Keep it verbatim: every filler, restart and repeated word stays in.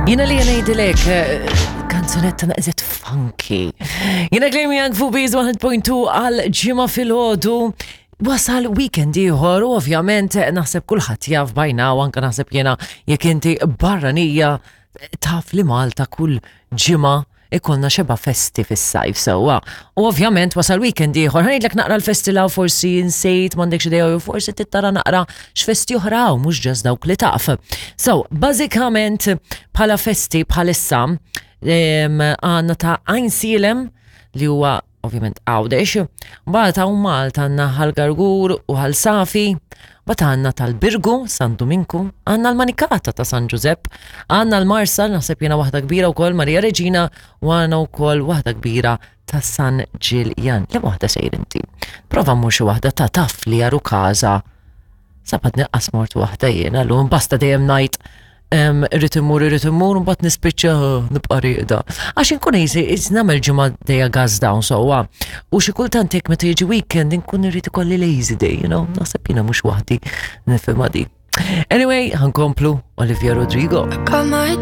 Jiena li ngħidilek eh, kanzunetta naqzet funky. Jiena Claire Young fuq Biz one point two għal Ġimgħa filgħodu. Wasal weekend ieħor u ovvjament naħseb kulħadd jaf bajna u anke naħseb jiena, jekk inti barranija, taf li Malta kull ġimgħa ikollna xeba festi fis-sajf sewwa. U ovvjament wasal weekend ieħor, ħa ngħidlek naqra l-festi law, forsi insejt, m'għandekx idea jew forsi tittara naqra x'festi oħra hawn, mhux just dawk li taf. So, bażikament bħala festi bħalissa em, għandna ta' Għajnsielem li huwa ovvjament Għawdex, mbagħad hawn Malta għandna Ħal Gargur u Ħal Safi, mbagħad għandna tal-Birgu, San Duminku, għandna l-Manikata ta' San Giuseppe, għandna l-Marsa, naħseb jiena waħda kbira wkoll Marija Reġina, u għandna wkoll waħda kbira ta' San Ġiljan. Li waħda sejr inti? Prova mmur xi waħda ta' taf li jaru kaza. Sabat neqqas mort waħda jiena, l basta dejjem ngħid em, irrid immur, irrid immur, mbagħad nispiċċa nibqa' rieqda. Għax inkun easy, nagħmel ġimgħa dejja gas down sewwa. U xi kultant hekk meta jiġi weekend inkun irrid ikolli lazy day, you know, naħseb jiena mhux waħdi nifhimha di. Anyway, ħa nkomplu Olivia Rodrigo. Got my